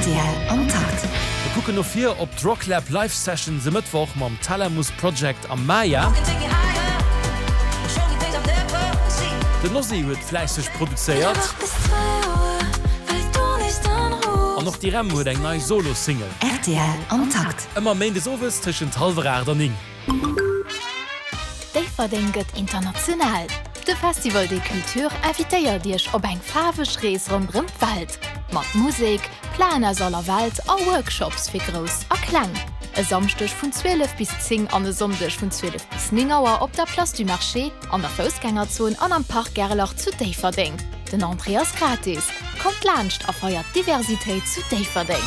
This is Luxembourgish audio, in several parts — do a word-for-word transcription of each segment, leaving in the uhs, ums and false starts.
Rtl am Takt. Mir kucken no vir op d'Rocklab Live Sessions e Mëttwoch mam Thalamus Project am Maya. Den Ozzy huet fläisseg produzéiert. An och d'Irem huet eng nei Solo-Single. Rtl am Takt. Ëmmer méindes owes tëschent hallwer aacht an néng. Déifferdeng gëtt international! De Festival des Cultures invitéiert Iech op eng faarweg Rees ronderëm d'Welt, mat Musek, Plaen aus aller Welt a Workshops fir Grouss a Kleng. E Samschdeg vun zwielef bis zéng an e Sonndeg vun zwielef bis néng Auer op der Place du Marché, an der Foussgängerzon an am Parc Gerlach zu Déifferdeng. Den Entrée ass gratis. Kommt laanscht a feiert d'Diversitéit zu Déifferdeng!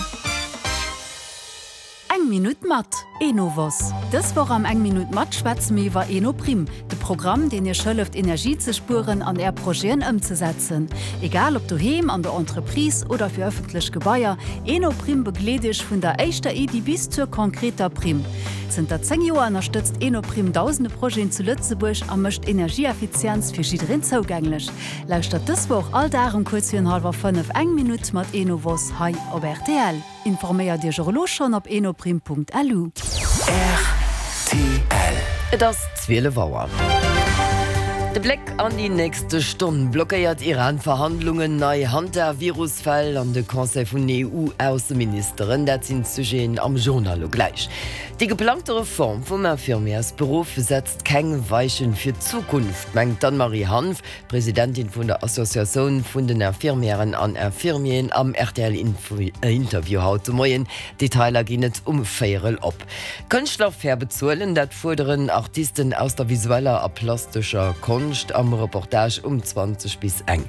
Eng Minutt mat Enovos. Dës Woch am Eng Minutt mat schwätze mir iwwer Enoprim, de Programm, deen Iech hëlleft, Energie ze spueren an Är Projeten ëmzesetzen. Egal ob doheem, an der Entreprise oder fir ëffentlech Gebaier, Enoprim begleet Iech vun der éischter Iddi bis zur konkreter Primm. Zënter zéng Joer ënnerstëtzt Enoprim dausende Projeten zu Lëtzebuerg a mécht Energieeffizienz fir jiddereen zougänglech. Lauschtert dës Woch all Dag um kuerz virun hallwer fënnef Eng Minutt mat Enovos hei op rtl. Informéiert Iech och elo schonn op enoprim.lu. Rtl. Et ass zwielef Auer. De Bléck an déi nächste Stonn, Blockéiert Iran Verhandlungen, nei Hantavirus-Fäll an de Conseil vun E U-Ausseministeren, dat sinn d'Sujeten am Journal elo gläich. Déi geplangte Reform vum Infirmièrsberuff setzt keng Weichen fir d'Zukunft, mengt d'Anne-Marie Hanff, Presidentin vun der Associatioun vun den Infirmièren an Infirmieren am R T L-Interview haut de Moien. Detailer ginn et um véierel op. Kënschtler fair bezuelen, dat fuerderen Artisten aus der visueller a plastescher Konscht am Reportage um zwanzeg bis eng.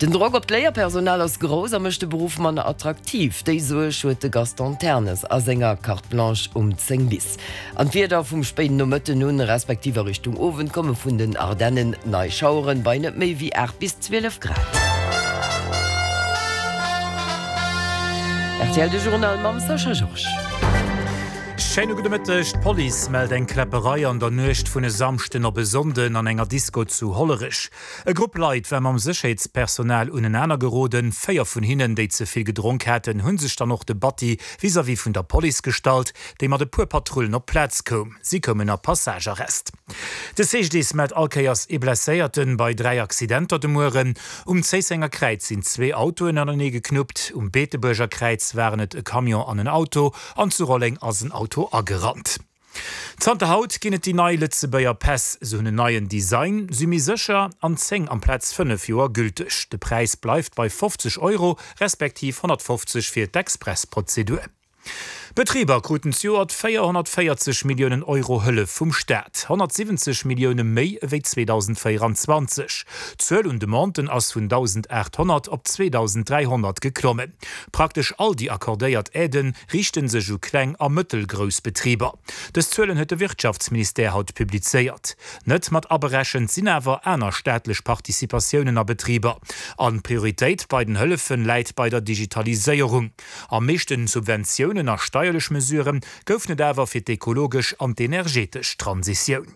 Den Drock op d'Léierpersonal ass grouss a mécht de Beruff manner attraktiv. Déi Suerg huet de Gaston Ternes a senger Carte Blanche um zéng bis. An d'Wieder, Vum spéiden Nomëtten un, respektiv a Richtung Owend komme vun den Ardennen nei Schaueren, bei net méi wéi aacht bis zwielef Grad. Rtl De Journal mam Sascha Georges. Schéine gudde Mëtteg. D'Police mellt eng Kläpperei an der Nuecht vun e Samschden op e Sonnden an enger Disko zu Hollerech. E Grupp Leit war mam Sécherheetspersonal unenaner geroden. Véier vun hinnen, déi ze vill gedronk haten, hu sech dann och de Batti vis-à-vis vun der Police gestallt, déi mat e puer Patrullen op d'Plaz koum. Si koumen a Passagearrest. De C G D I S mellt all Kéiers ee Blesséierten bei dräi Accidenter de Mueren. Um Zéissenger Kräiz sinn zwee Autoen anenee geknuppt, um Beetebuerger Kräiz waren et e Camion an en Auto an zu Rolleng ass en Auto agerannt. Zanter haut ginn et déi nei Lëtzebuerger Päss. Se hunn en neien Design, si méi sécher an zéng amplaz fënnef Joer gülteg. De Präis bleift bei fofzeg Euro, respektiv honnertfofzeg fir d'Expressprozedur. Betriber kruten zejoert véierhonnertvéierzeg Milliounen Euro Hëllef vum Staat, honnertsiwwenzeg Millioune méi ewéi zweedausendvéierenzwanzeg. D'Zuel un Demanden ass vun dausendaathonnert op zweedausendräihonnert geklommen. Praktesch all déi accordéiert Aidë riichte sech u kleng a mëttelgrouss Betriber. Dës Zuelen huet de Wirtschaftsministère haut publizéiert. Net mat aberechent sinn awer aner staatlech Participatiounen a Betriber. An d'Prioritéit bei den Hëllefe läit bei der Digitaliséierung. Am meeschte Subventiounen a steierlech Mesurë goufen et awer fir d'ekologesch an d'energetesch Transitioun.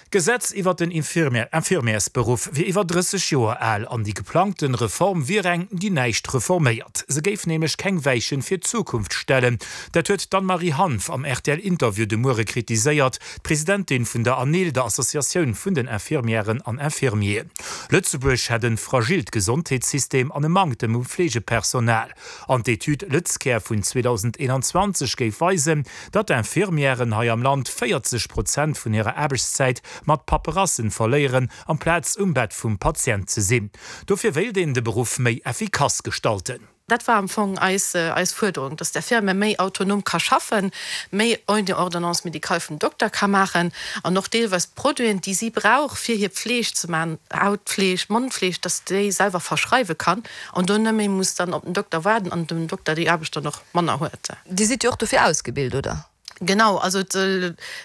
D'Gesetz iwwer den Infirmièrsberuff wier iwwer drësseg Joer al an déi geplangte Reform wier eng, déi näischt reforméiert. Se géif nämlech keng Weichen fir d'Zukunft stellen. Dat huet d'Anne-Marie Hanff am R T L-Interview de Muere kritiséiert, d'Presidentin vun der ANIL, der Associatioun vun den Infirmièren an Infirmieren. Lëtzebuerg hätt e fragilt Gesondheetssystem an e Manktem u Fleegepersonal. An d'Etüd LëtzCare vun zweedausendeenanzwanzeg géif weisen, datt Infirmièren hei am Land véierzeg Prozent vun hirer Aarbechtszäit mat Paperassen verléieren, amplaz um Bett vum Patient ze sinn. Dofir wéilt een de Beruff méi effikass gestalten. Dat war am Fong eis eis Fuerderung, dass d'Infirmière méi autonom ka schaffen, méi ouni Ordonnance médicale vum Dokter ka maachen an och deelweis d'Produiten, déi si brauch, fir hir Pfleeg ze maachen, Hautpfleeg, Mondpfleeg, dass déi selwer verschreiwe kann an do net méi muss dann op den Dokter waarden an dem Dokter déi Aarbecht dann och manner huet. Dir sidd jo och dofir ausgebilt, oder? Genau, also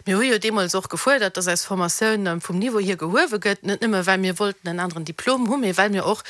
mir hu jo deemools och gefuerdert, dass eis Formatioun vum Niveau hier gehuewe gëtt, net nëmme well mir wollten en aneren Diplom hunn, mee well mir och